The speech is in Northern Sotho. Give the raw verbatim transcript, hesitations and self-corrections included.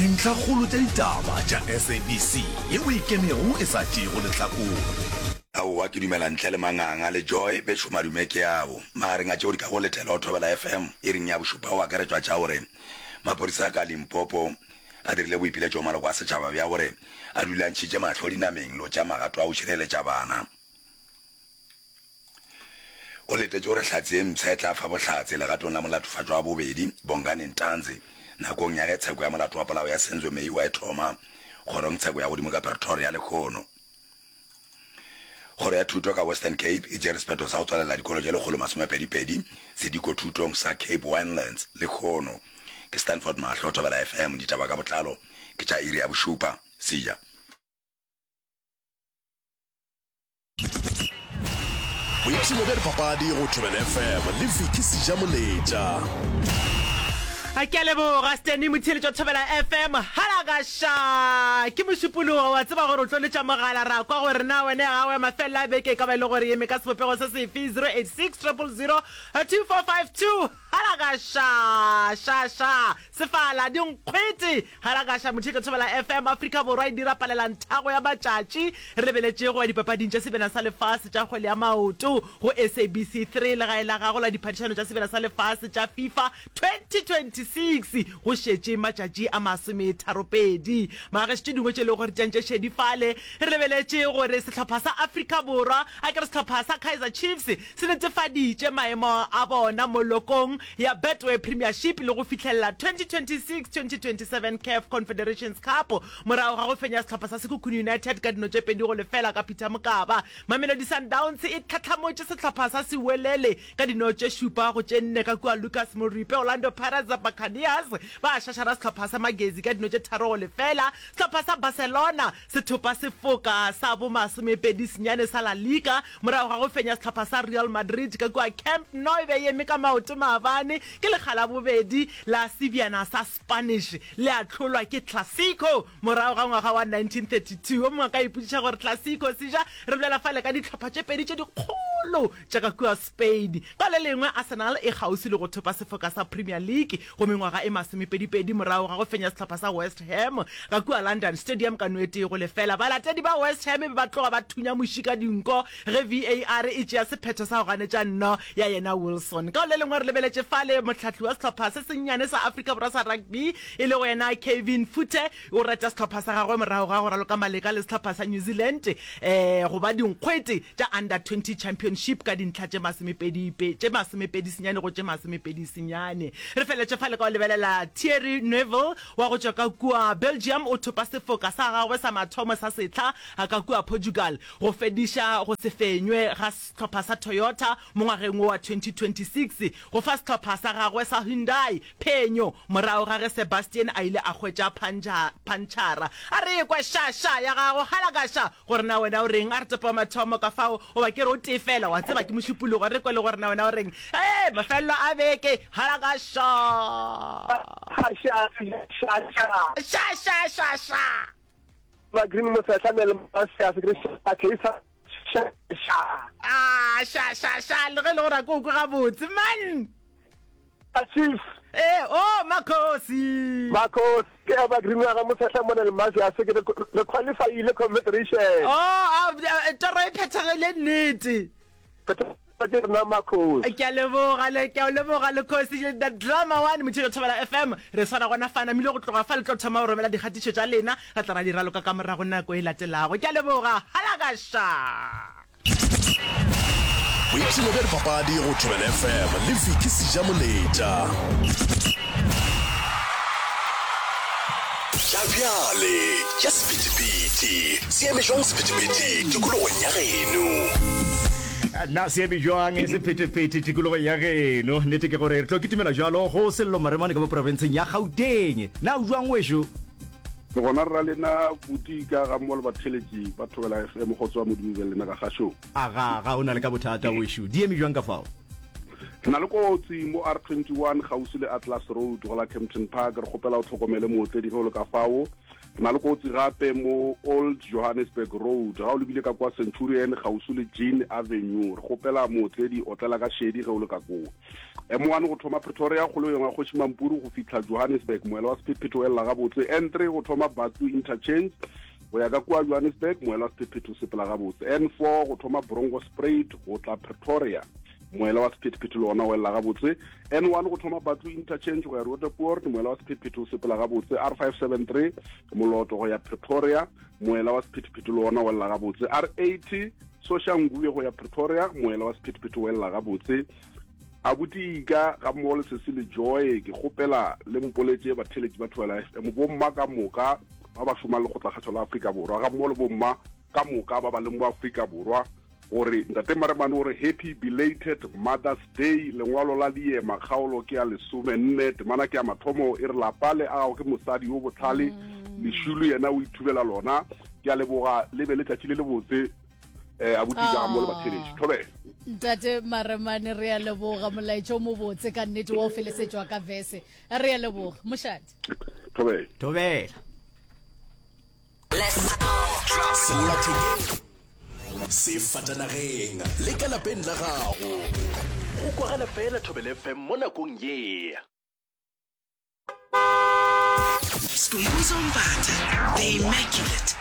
Dintlhakgolo tša ditaba tša S A B C yeo e ikemego e sa tšeego lehlakore. Aowa, ke dumela ntle le manganga le Joy bešo madume ke ao. Magareng a tšeo di ka go letela go Thobela F M iring ya bošupa go akaretšwa tša gore maphodisa a ka Limpopo a dirile boipiletšo go maloko a setšhaba bja gore a dule a ntšhitše mahlo dinameng le go tšea magato a go šireletša bana. Go letetšwe gore hlatse ye mpsha e tla fa bohlatse legatong la molatofatšwa wa bobedi, Bongani Ntanzi, nakong ya ge tsheko ya molato wa polao ya Senzo Meyiwa e thoma kgorongtsheko ya godimo ka Pretoria lehono. Kgoro ya Thuto ka Western Cape e tšere sephetho sa go tswalela dikolo tše lekgolo masomepedi-pedi sedikothutong sa Cape Winelands lehono. Ke Stanford Mahlo, Thobela F M, ditaba ka botlalo ke tša iri ya bošupa. Seja. Boipshino bja dipapadi go Thobela F M le Vicky Sejamoletša. A ke a leboga Stanley Motheeletši wa Thobela F M. Halakaša! Ke Mošupologo, wa tseba gore o tlo letša mogala ra kwa gore na wena ya gago ya mafelelo a beke e ka ba e le gore e eme ka sebopego se sefe, zero eight six triple zero two four five two. Halakaša! Ša ša! Sefala, dinkgwete! Halakaša Motheeletši wa Thobela F M. Afrika Borwa e dira palelanthago ya matšatši re lebeletše go ya dipapading tša Sebjana sa Lefase tša kgwele ya maoto go S A B C three, legae la gago la diphadišano tša Sebjana sa Lefase tša FIFA twenty twenty-six. Go šetše matšatši a masometharopedi. Magešo, tše dingwe tše e lego gore di tšantše šedi fale, re lebeletše gore sehlopha sa Afrika Borwa, a ke re sehlopha sa Kaizer Chiefs, se netefaditše maemo a bona molokong ya Betway Premiership le go fihlelela twenty twenty-six twenty twenty-seven CAF Confederations Cup morago ga go fenya sehlopha sa Sekhukhune United ka dino tše pedi go lefela ka Peter Mokaba. Mamelodi Sundowns e tlhatlhamotše sehlopha sa Siwelele ka dino tše šupa go tše nne ka kua Lucas Moripe. Orlando Pirates, Buccaneers ba šašara sehlopha sa Magezi ka dino tše tharo go lefela. Sehlopha sa Barcelona se thopa sefoka sa bomasomepedi senyane sa La Liga morago ga go fenya sehlopha sa Real Madrid ka kua Camp Nou. E be e eme ka maoto maabane, ke lekga la bobedi la sebjana sa Spanish le ahlolwa ke Clasico morago ga ngwaga wa nineteen thirty-two. Yo mongwe a ka ipotšiša gore Clasico seja re bolela fale ka dihlopha tše pedi tše dikgolo tša ka kua Spain. Ka le lengwe, Arsenal e kgauswi le go thopa sefoka sa Premier League go mengwaga e masomepedipedi morago ga go fenya sehlopha sa West Ham ka kua London Stadium ka no e tee go lefela. Balatedi ba West Ham be ba tloga ba thunya muši ka dinko ge V A R e tšea sephetho sa go ganetša nno ya yena Wilson. Ka le lengwe, re lebeletše fale mohlahli wa sehlopha se sennyane sa Afrika Borwa sa rugby e lego yena Kevin Foote o reta sehlopha sa gagwe morago ga go raloka maleka le sehlopha sa New Zealand um go ba dinkgwete tša Under twenty Championship ka dintlha tše masomepedi tše masomepedi senyane go tše masomepedi senyane. Re feletše fale ka go lebelela Thierry Neuville wa go tšwa ka kua Belgium o thopa sefoka sa gagwe sa mathomo sa sehla ka kua Portugal go fediša go se fenywe ga sehlopha sa Toyota mo ngwageng wo wa twenty twenty-six, go fa sehlopha sa gagwe sa Hyundai phenyo morago ga ge Sebastian a ile a hwetša pantšhara. A re ekwe ša-ša ya gago halakaša gore na wena o reng. A re topa mathomo ka fao goba ke re o tee fela, wa tseba ke Mošupologo, re kwe le gore na wena o reng. Ee, mafelelo a beke, halakaša. Ša ša ša ša. Ba green mosehla mele se se ke sa ša ša. Ah, ša ša ša, le ge le gore a ke o kwe gabotse man. Chief. Ee, oh, Makhosi. Makhosi ke ba green wa ga mosehla mone le mase a se ke re qualifyile confederation. Oh, a toro e phethagile nnete. Ke rena Makhosi. Ke a leboga le ke a leboga le khosi, the drama one Motheeletši wa Thobela F M. Re swara gona fa namile go tloga fa le tlo thoma go romela dikgatišo tša lena, re tla ra di raloka ka morago nako e latelago. Ke a leboga, halakaša. Boipshino bja dipapadi go Thobela F M le Vicky Sejamoletša. Tša bjale tša sephethephethe se eme jwang sephethephethe tikologong ya geno? Na se eme jwang sephethephethe tikologong ya geno? Nnete ke gore re tlo kitimela jalo go Sello Maremane ka mo profenseng ya Gauteng. Na o jwang wešo? Le gona rra lena buti ka ga mmogo le batheletši ba Thobela F M, go tswa Modimo be lena ka gašong. A ga ga o na le ka bothata wešo, di eme jwang ka fao? Re na le kotsi mo R twenty-one gausi le Atlas Road go la Kempton Park, re kgopela o tlhokomele mootledi ge o le ka fao. Re na le kotsi gape mo Old Johannesburg Road ga o lebile ka kwa Centurion gausi le Jean Avenue, re kgopela mootledi otlela ka šedi ge o le ka koo. M one go thoma Pretoria kgolong ya Kgoši Mampuru go fihla Johannesburg, moela wa sephethephethe o elela gabotse. N three go thoma Bathu Interchange go ya ka kua Johannesburg, moela wa sephethephethe o sepela gabotse. N four go thoma Bronkhorstspruit go tla Pretoria, moela wa sephethephethe le ona o elela gabotse. N one go thoma Bathu Interchange go ya Roodepoort, moela wa sephethephethe o sepela gabotse. R five seven three Moloto go ya Pretoria, moela wa sephethephethe le ona o elela gabotse. R eighty Soshanguve go ya Pretoria, moela wa sephethephethe o elela gabotse. Abuti Ika ga mmogo le Sesi le Joy, ke kgopela le mpoletše batheeletši ba Thobela F M, bomma ka moka ba ba šomang Lekgotlakgašo la Afrika Borwa, ga mmogo le bomma ka moka ba ba leng mo Afrika Borwa, gore Ntate Maremane o re Happy Belated Mother's Day. Lengwalo la Diema, kgaolo ke ya lesomenne, temana ke ya mathomo, e re lapa le agago ke mosadi yo bohlale, lešilo yena o ithubela lona. Ke a leboga, le be letšatši le lebotse. Eh, abuti ka mo le batheletši. Thobela. Ntate Maremane, re a leboga molaetša o mobotse ka nnete wa o felesetšwa ka verse. Re a leboga. Mošate. Thobela. Thobela. Sellathekeng, sefatanageng le ka lapeng la gago. Go kwagala fela Thobela F M mo nakong ye. Skhumbuzo Mbatha, the immaculate